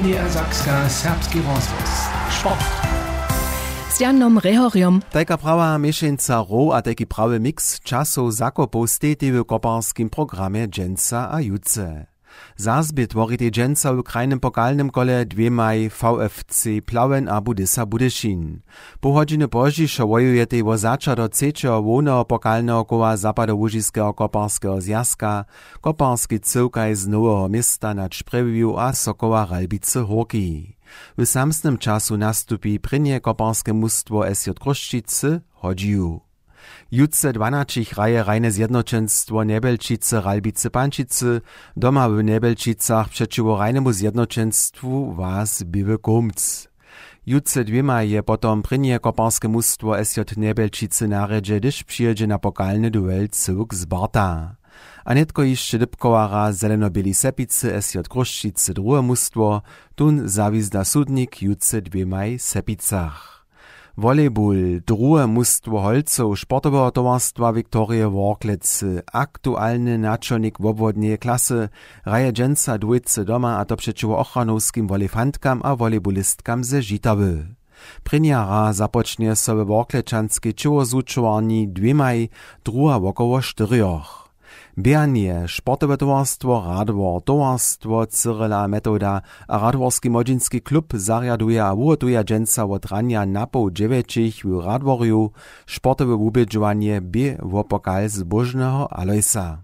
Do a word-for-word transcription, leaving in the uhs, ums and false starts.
Niedersakska, serbski rozhłos. Sport. Z Janom Rehorjom. Tajka prawa měšeńca row a tajki prawy miks časow zakopow stejtej w koparskim programje dźensa a jutře. Zazbě tworitej dźensa w krajnym pokalnym kole dwěmaj V F C Plauen a Budysa Budyšin. Poł hodźiny pozdźišo wojujetej wo začadok třećeho hłowneho pokalneho koła zapadołužiskeho koparskeho zwjazka, koparski cyłkaj z Noweho Města nad Sprjewju a Sokoła Ralbicy Hórki. W samsnym času nastupi prěnje koparske mustwo S J Chrósćicy Hodźiju. Jutře dwanaćich hraje hrajne zjednoćenstwo Njebjelčicy Ralbicy Pančicy doma w Njebjelčicach přećiwo hrajnemu zjednoćenstwu Was Běły Kołmc. Jutře dwěmaj je potom prěnje koparske mustwo S J Njebjelčicy na rjedźe, hdyž přijědźe na pokalny duel cyłk Sparta. A nětko hišće dypkowara Zeleno-běli Sepicy S J Chrósćicy druhe mustwo, tón zawizda sudnik jutře dwěmaj Sepicach. Volejbul, druhe mustwo holcow sportoweho towarstwa Wiktorije Worklecy, aktualny načolnik wobwodneje klasy, hraje dźensa dwójce doma, a to přećiwo ochranowskim wolejfantkam a wolejbulistkam ze Žitawy. Prěnja hra započnje so we Worklečanskej ćěłozwučowarni dwěmaj, druha wokoło štyrjoch. Běhanje, sportowe towarstwo Radwor, towarstwo Cyrila a Metowda a Radworski młodźinski klub zarjaduja a wuhotuja dźensa wot ranja napoł dźewjećich w Radworju sportowe wubědźowanje bě wo pokal zbóžneho Alojsa.